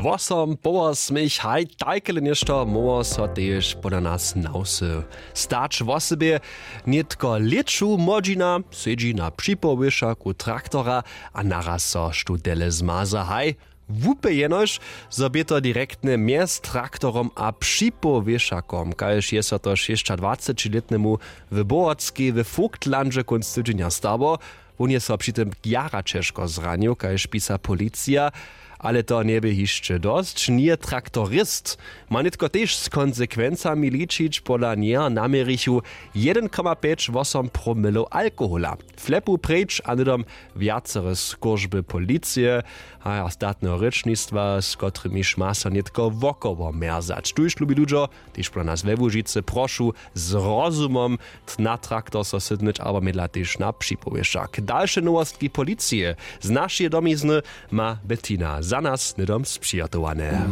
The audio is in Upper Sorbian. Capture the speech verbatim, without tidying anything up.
Wosom połosmich haj tajkele něšto móhło so tež pola nas na wsy stać wosebje. Nětko lěću młodźina sedźi na připowěšaku traktora, a naraz so štutele zmaza haj, łupy jenož zo bě to direktnje mjez traktorom a připowěšakom kaž je so to šěsćadwacećilětnemu w bohotskej w vogtlandźe kónc tydźenja stało. Wón je so při tym jara ćežko zranił kaž pisa policija. Ale to njebě hišće dosć, njeje traktorist, ma nětko tež z konsekwencami ličić. Pola njeho naměrichu jedyn koma pjeć wosom promilow alkohola. Flepu preč a hnydom wjacere skóržby policije a statneho rěčnistwa z kotrymiž ma so nětko wokoło mjerzać tuž lubi ludźo, tež pola nas we łužicy prošu z rozumom na traktor so sydnyć abo mědla tež na připowěšak. Dalše nowostki policije z našeje domizny ma bettina za nas hnydom spřihotowane.